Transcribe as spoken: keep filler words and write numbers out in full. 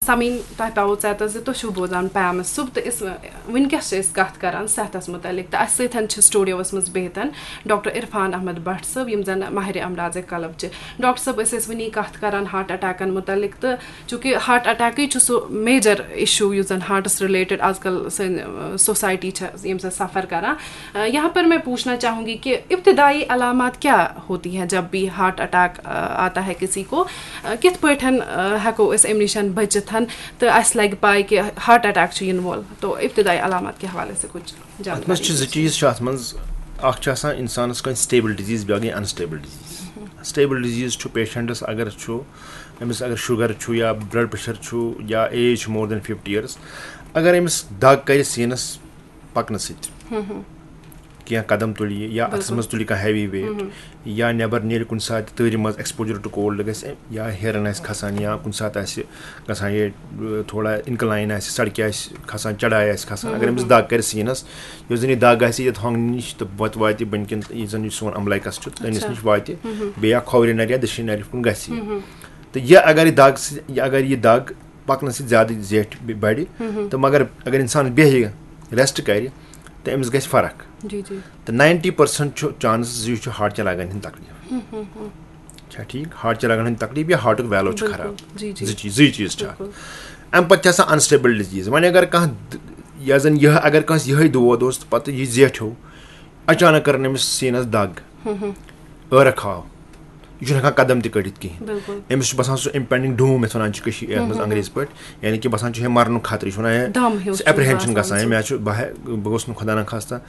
سمیٖن، تۄہہِ پٮ۪وو ژٮ۪تَس زِ تُہۍ چھِو بوزان پیمَس صُبح، تہٕ أسۍ وٕنکیٚس چھِ أسۍ کَتھ کَران صحتَس مُتعلِق، تہٕ اَسہِ سۭتۍ چھِ سٹوڈیوَس منٛز بِہِتھ ڈاکٹر عرفان احمد بٹ صٲب، یِم زَن ماہر امراض قلب چھِ۔ ڈاکٹر صٲب، أسۍ ٲسۍ وٕنی کَتھ کَران ہارٹ اٹیکَن مُتعلِق، تہٕ چوٗنٛکہِ ہارٹ اٹیکٕے چھُ سُہ میجر اِشوٗ یُس زَن ہارٹَس رِلیٹڈ آز کل سٲنۍ سوسایٹی چھِ ییٚمہِ سۭتۍ سفر کَران۔ یہاں پر میں پوچھنا چاہوں گی کہ ابتدائی علامات کیا ہوتی ہیں جب بھی ہارٹ اٹیک آتا ہے کسی کو؟ کِتھ پٲٹھۍ ہٮ۪کو أسۍ اَمہِ نِش بٔچِتھ تہٕ اَسہِ لگہِ پاے کہ ہارٹ اٹیک چھُ یِنہٕ وول؟ تو ابتدائی علامات کے حوالے سے کچھ اَتھ منٛز چھِ زٕ جانکاری۔ چیٖز چھِ اَتھ منٛز۔ اَکھ چھِ آسان اِنسانَس کانٛہہ سٹیبل ڈِزیٖز، بیٛاکھ گٔے اَنسٹیبل ڈِزیٖز۔ سٹیبل ڈِزیٖز چھُ پیشنٹَس اگر چھُ، أمِس اگر شُگر چھُ یا بلڈ پریشر چھُ یا ایج چھِ more than fifty years، اگر أمِس دَگ کَرِ سیٖنَس پَکنہٕ سۭتۍ، کینٛہہ قدم تُلہِ یہِ یا اَتھَس منٛز تُلہِ کانٛہہ ہیوی ویٹ، یا نٮ۪بَر نیرِ کُنہِ ساتہٕ تۭرِ منٛز، exposure to cold گژھِ، یا ہیرَن آسہِ کھَسان یا کُنہِ ساتہٕ آسہِ گژھان یہِ، تھوڑا اِنکلاین آسہِ، سڑکہِ آسہِ کھَسان، چڑاے آسہِ کھَسان، اگر أمِس دَگ کَرِ سیٖنَس، یۄس زَن یہِ دَگ آسہِ یَتھ ہۄنٛگنہٕ نِش تہٕ پَتہٕ واتہِ بٔنۍ کِنۍ یُس زَن یہِ سون امبلایکَس چھُ، تٔمِس نِش واتہِ، بیٚیہِ یا کھوورِ نَرِ یا دٔچھِنۍ نَرِ کُن گژھِ یہِ۔ تہٕ یہِ اگر یہِ دَگ سۭتۍ، یہِ اگر یہِ دَگ پَکنہٕ سۭتۍ زیادٕ زیٹھِ بَڑِ، تہٕ مگر اگر اِنسان بیٚہہِ، ریسٹ کَرِ، تہٕ أمِس گژھِ فرق۔ جی جی۔ تہٕ ninety percent چھُ چانسز زِ یہِ چھُ ہارٹ چہِ رگن ہٕنٛدۍ تکلیف۔ چھا ٹھیٖک؟ ہارٹ چہِ رگن ہٕنٛدۍ تکلیف یا ہارٹُک ویلو چھُ خراب۔ جی جی۔ زٕ چیٖز، زٕے چیٖز چھِ اَتھ۔ اَمہِ پتہٕ چھِ آسان انسٹیبل ڈِزیٖز۔ وۄنۍ اگر کانٛہہ د-، یا زن یہِ اگر کٲنٛسہِ یِہوٚے دود اوس تہٕ پتہٕ یہِ زیٹھیو، اچانک کٔرٕن أمِس سیٖنس دگ، ٲرکھ آو، یہِ چھُنہٕ ہٮ۪کان قدم تہِ کٔڑِتھ کِہیٖنۍ۔ أمِس چھُ باسان سُہ impending doom، یَتھ وَنان چھِ کٔشی-، یَتھ منٛز انگریزی پٲٹھۍ، یعنی کہِ باسان چھُ ہے مرنُک خطرٕ، یہِ چھُ وَنان ہے، دم ہیوٗ چھُ اپریہنشن باسان گژھان، ہے سُہ۔ مےٚ چھُ، بہٕ ہے-، بہٕ گوٚژھ نہٕ خۄدا نخواستہ